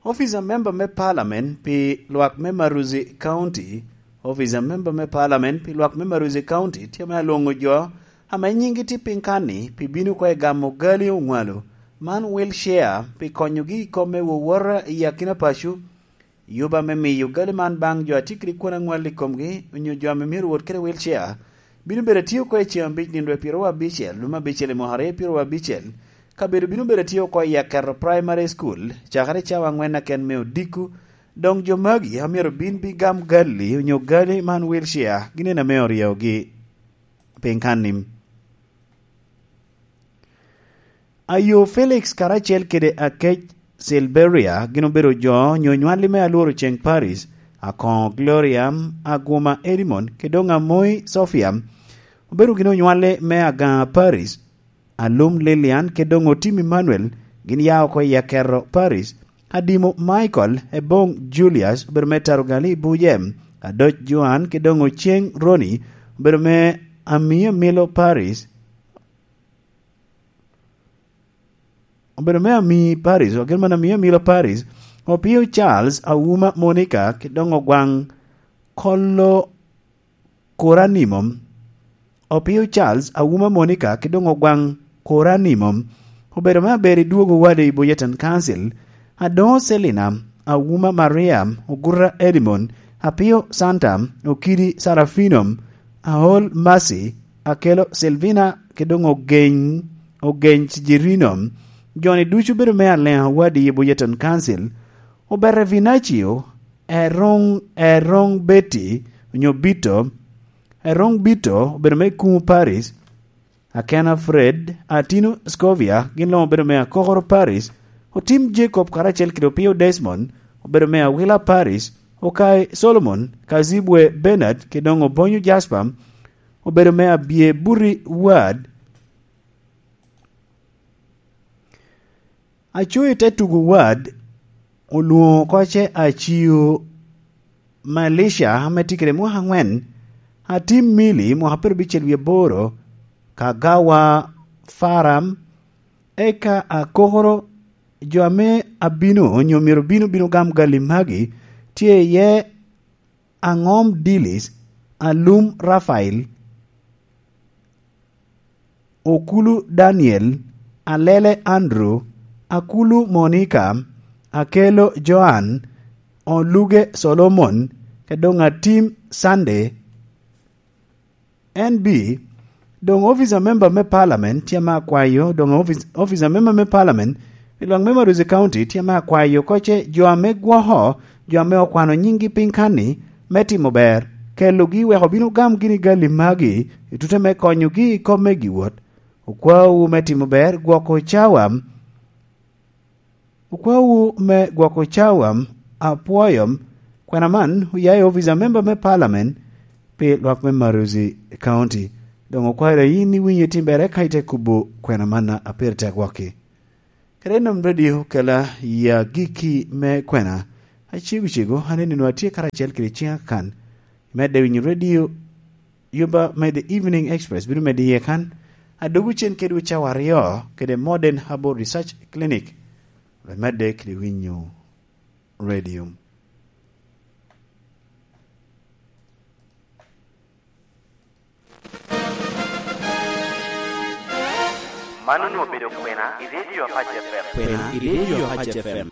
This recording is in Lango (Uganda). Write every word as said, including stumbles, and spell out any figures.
Office a member me parliament pi lwak me Maruzi County, Office a member me parliament pi lwak me Maruzi County tye me alwoŋo jo ame nyinggi tye piny kan-ni pi bino oko i gamo gali oŋwalo, man wheelchair, pi konyogi i kom me wowota i akina paco, yuba me miyo gali man baŋ jo a tye kede kwon aŋwal i komgi, onyo jo ame myero wot kede wheelchair, bino bedo atye oko i ceŋ abic nino dwe pyeraryo abicel, lum abicel i mwaka aryo pyeraryo abicel. Kabedo bino bedo atye oko i Aketo Primary School, cakere i cawa aŋwen aken me odiko. Doŋ jo magi a myero bin bi gam gali onyo gali man wheelchair, ginen ame oryeogi piny kan-ni. Ayo Felix karacel kede Akec Silberia gin obedo jo onyo nywalli me Alworo Ceŋ Paris, Akoŋo Gloria, Aguma Edimon, kede doŋ Amoi Sofia. Obedo gin onywalli me Agaŋa Paris, Alum Lilian, kede doŋ Otim Emmanuel, gin ya oko i Aketo Paris. Adimo Michael, Eboŋ Julius, obedo me Tarugali Buje, Adoc Joan, kede doŋ Oceŋ Roni, obedo me Amio Milo Paris. Obedo me Ami Paris, ogen man Ami Amilo Paris, Opio Charles, Awuma Monica, kede doŋ Ogwaŋ Kolo Koranimo. Opio Charles, Awuma Monica, kede doŋ Ogwaŋ Koranimo. Obedo me aber i dwogo wade i Boyeten Council. Adoŋo Selina, Awuma Maria, Oguta Edimon, Apio Santa, Okidi Sarafino, Aol Mercy, Akelo Silvina, kede doŋ Ogeny, Ogeny Cijirino. Jo-ni ducu bedo me Aleŋa Wadi i Boyeten Council. Obete Vinacio, Eroŋ, Eroŋ Betty, onyo Bito. Eroŋ Bito obedo me Kuŋo Paris. Akena Fred, Atino Scovia, gin luŋ obedo me Akokoro Paris. Otim Jacob karacel kede Opio Desmond, obedo me Awila Paris. Okai Solomon, Kazibwe Bernard, kede doŋ Obonyo Jasper, obedo me Abye Buri Ward. Aco i te tugo wad, olwoŋo oko ce Acio Malisha ame tye kede mwaka aŋwen, Atim Mili mwaka pyerabicel wie aboro, Kagawa Faram, eka Akokoro, jo ame abino onyo myero bino bino gam gali magi, tye iye Aŋom Dilis, Alum Rafael, Okulu Daniel, Alele Andrew, Akulu Monica, Akelo Joan, Oluge Solomon, kede doŋ Atim Sunday. N B, doŋ office a member me parliament tye ame akwayo, doŋ office, office a member me parliament i lwak me Marozi County tye ame akwayo oko ce jo ame gwoko, jo ame okwano nyiŋgi piny kan-ni, me timo ber, kelogi wek obin ogam gini gali magi i tute me konyogi i kop me giwot. Okwaowu me timo ber gwoko cawa. Okwaowu me gwoko cawa, apwoyo. Kwena man oya i office a member me parliament pi lwak me Marozi County. Doŋ okwayo yin iwinyo itim ber eka ite kubo kwena man a pire tek gwokki. Kede nom radio kela ya gikki me kwena. Acego cego, aneni nwa tye karacel kede ciŋa kan. Imedde winyo radio, yuba me The Evening Express bino medde iye kan. Adogo cen kedwu cawa aryo kede Modern Herbal Research Clinic. Wek medde kede winyo radio. Mano onwoŋo obedo kwena i Radio Apac F M. Kwena i Radio Apac F M.